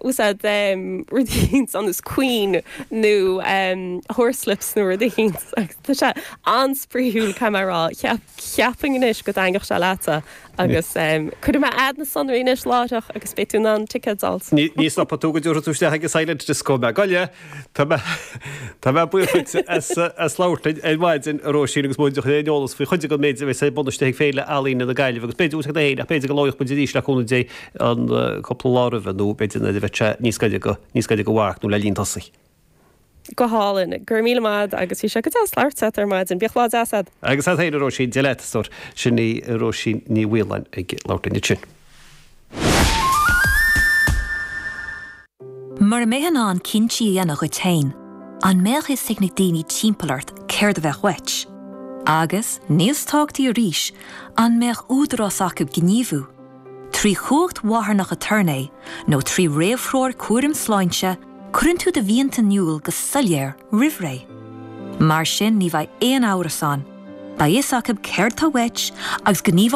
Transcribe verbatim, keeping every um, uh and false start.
Úsáid rud éicint ar nós Queen nó Horslips nó rud éicint agus tá sé an-spraíúil caithfidh mé a rá. Cheapfainn anois go dtaitneodh sé leatsa agus cuirfidh mé a'd na sonraí anois láithreach agus beidh tú in ann ticéad a fháil. Ní stopfaidh tú go dtabharfaidh tú isteach ag an Silent Disco mé. Gabh i leith, tá mé tá mé buíoch duit as as labhairt linn ar maidin a Róisín agus muid ag cur eolas faoi chuid den méid a bheas ar bun istigh ag Féile Ealaíne na Gaillimhe agus b'fhéidir úsáid féin ach b'fhéidir go labhróidh muid arís le cúnamh Dé an cúpla lá roimhe nó b'fhéidir nuair a bheidh sé níos gaire go níos gaire go mharc nó le linn tosaigh. Go hálainn, go raibh míle maith agus bhí sé go deas labhairt leat ar maidin. Bíodh lá deas a'd. Agus a'd féin a Róisín, Dia leat, a stór. Sin í Róisín Ní Mhaoláin ag labhairt linn ansin. Mura mbeifeá in ann cinntí a dhéanamh dhuit féin, an mbeadh fhios ag na daoine timpeall ort céard a bheadh uait? Agus, níos tábhachtaí arís, an mbeadh údarás acu gníomhú? Trí chumhacht mharthanach aturnae nó trí réamhthreoir cúraim sláinte, cuireann tú do mhianta in iúl go soiléir roimh ré. Mar sin ní bheidh aon amhras ann, beidh fhios acu céard atá uait agus gníomhóidh